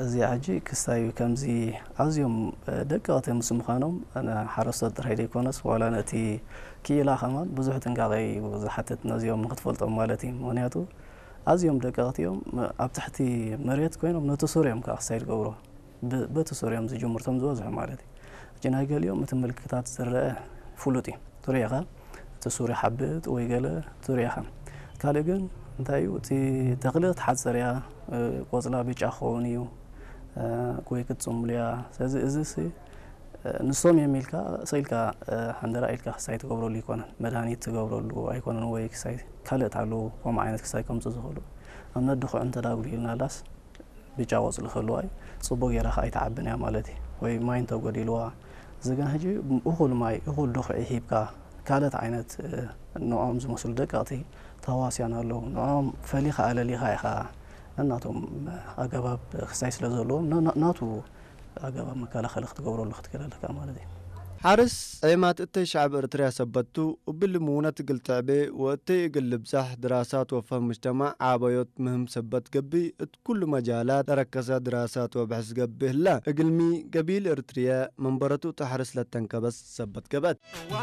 እዚኣ ሕጂ ክስታይ ከምዚ ኣዝዮም ደቀቕቲ ምስ ምዃኖም፣ ሓረስቶት ጥራይ ዘይኮነስ ዋላ ነቲ ክኢላ ከማን ብዙሕ ጥንቃቐ እዩ ዝሓትት፣ ነዚኦም ንክትፈልጦም ማለት እዩ። ምኽንያቱ ኣዝዮም ደቀቕቲ እዮም። ኣብ ትሕቲ መሬት ኮይኖም ነቲ ሱር እዮም ከዓ ክስታይ ዝገብሩ። በቲ ሱር እዮም ዝጅምርቶም ዝበዝሑ ማለት እዩ። ሕጂ ናይ ገሊኦም እቲ ምልክታት ዝረአ ፍሉጥ እዩ። ትሪኢኻ እቲ ሱር ይሓብጥ ወይ ገለ ትሪኢኻ። ካልእ ግን እንታይ እዩ፣ እቲ ተኽሊ ክትሓጽር እያ፣ ቆጽላ ብጫ ክኸውን እዩ ወይ ክትጽምሉ እያ። ስለዚ እዚ ንሶም እዮም ኢልካ ሰኢልካ ሓንደራ ኢልካ ክሳይ ትገብረሉ ኣይኮነን። መድሃኒት ትገብረሉ ኣይኮነን ወይ ክሳይ ካልእ ኣለዉ ከምኡ ዓይነት ክሳይ ከምጽእ ዝኽእሉ። ኣብነት ድኹዕ እንተዳጉዲልና ዳስ ብጫ ቆጽሊ ክህልዋ እዩ። ጽቡቕ ጌራ ከኣ ኣይትዓብን እያ ማለት እዩ። ወይ ማይ እንተጎዲልዋ፣ እዚ ግን ሕጂ እኹል ማይ፣ እኹል ድኹዒ ሂብካ፣ ካልኦት ዓይነት ንዕኦም ዝመስሉ ደቀቕቲ ተዋስያን ኣለዉ። ንዕኦም ፈሊኻ ኣለሊኻ ኢኻ ነናቶም ኣገባብ ክሳይ ስለ ዘለዎም ናቱ ኣገባብ መከላኸሊ ክትገብረሉ ክትክእል ኣለካ ማለት እዩ። ሓርስ ዔማት እተይ ሸዕብ እርትርያ ሰበቱ እብል ምውነት እግል ትዕቤ ወእተይ እግል ልብዛሕ ድራሳት ወፈህም ምጅተማዕ ዓበዮት ምህም ሰበት ገብእ እት ኩሉ መጃላት ተረከሰ ድራሳት ወብሕስ ገብእ ህላ። እግልሚ ገቢል እርትርየ መንበረቱ እት ሓርስ ለተንከበስ ሰበት ገብአት።